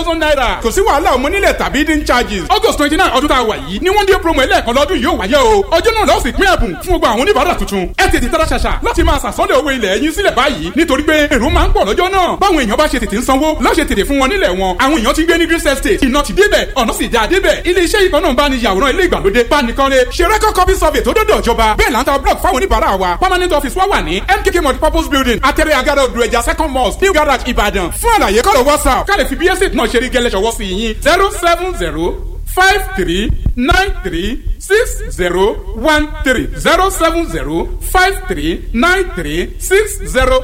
Thousand naira. Kò sí wàhálà ọmọ nílẹ̀ tàbí hidden charges. August 29 ọdún tá a wà yìí ni one day promo ẹlẹ́ẹ̀kan lọ́dún yóò wáyé o. Ọjọ́ náà lọ́ọ̀sì pín ẹ̀bùn fún gbogbo àwọn oníbàárà tuntun. Ẹ tètè tara ṣàṣà láti máa sàsọ́lẹ̀ owó ilẹ̀ yín sílẹ̀ báyìí, nítorí pé èrò máa ń pọ̀ lọ́jọ́ náà. Báwọn èèyàn bá ṣe tètè ń sanwó lọ́ṣẹ̀ tètè fún wọn nílẹ̀ wọn. Àwọn èèyàn ti ń gbé ní Green Estate, iná ti débẹ̀, ọ̀nà sì já débẹ̀. Ilé iṣẹ́ yìí kan náà ń bá ní yàwòrán ilé ìgbàlódé, bánikọ́lé, ṣe record copy survey tó dọ́dọ̀ ìjọba. Bẹ́ẹ̀ là ń ta block fáwọn oníbàárà wa. Permanent office wa wà ní MKK Multipurpose Building, Atẹ́rẹ́ Agada, Odò Ẹja, Second Mosque, New Garage, Ìbàdàn. Fún àlàyé, kọ́lọ̀ WhatsApp ká lè fi bí estate náà ṣe rí gẹ́lẹ́ ṣọwọ́ sí yín: 07053936013, 070539360.